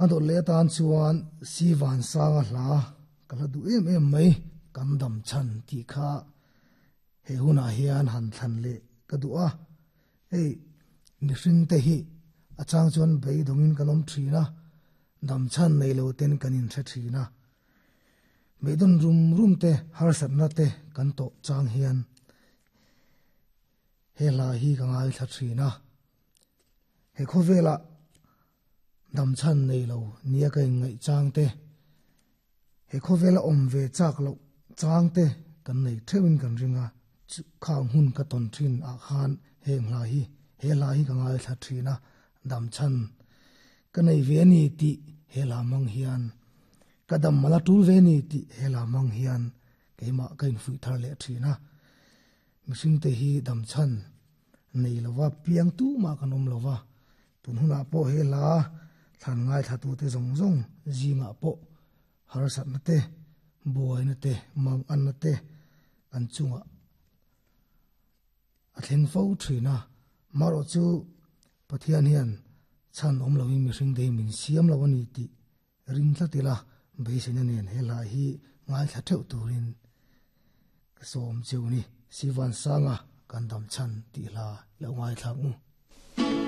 A dawt leh atan chuan Sivansanga hla ka hla duh em em mai, kan dam chhan tih kha he hunah hian han thlan leh ka duh a. Hei mihring te hi a chang chuan beidawngin kan awm thin a, dam chhan nei lo ten kan inhre thin a. Beidawn rum rum te harsatna te kan tawh chang hian he hla hi ka ngaithla thin a. He khawvelah dam chhan nei lo nia ka inngaih chang te, he khawvela awm ve chak loh chang te kan nei theuhin kan ring a, khang hun ka tawn thin ah khan heng hla hi, he hla hi ka ngaithla thin a, dam chhan ka nei ve a ni tih he hla hmang hian, ka dam mal a tul ve a ni tih he hla hmang hian keimah ka infuih thar leh thin a, mihring te hi dam chhan nei lova piang tumah kan awm lova, tun hunah pawh he hla thlan ngaithlatute zawng zawng zingah pawh harsatna te, buaina te, manganna te kan chungah a thleng fo thin a. Marawh chu Pathian hian chhan awm loin mihring te hi min siam lo a ni tih ring tlat ila beiseina nen he hla hi ngaithla theuh turin ka sawm cheu ni. Sivansanga kan dam chhan tih hla lo ngaithlak u.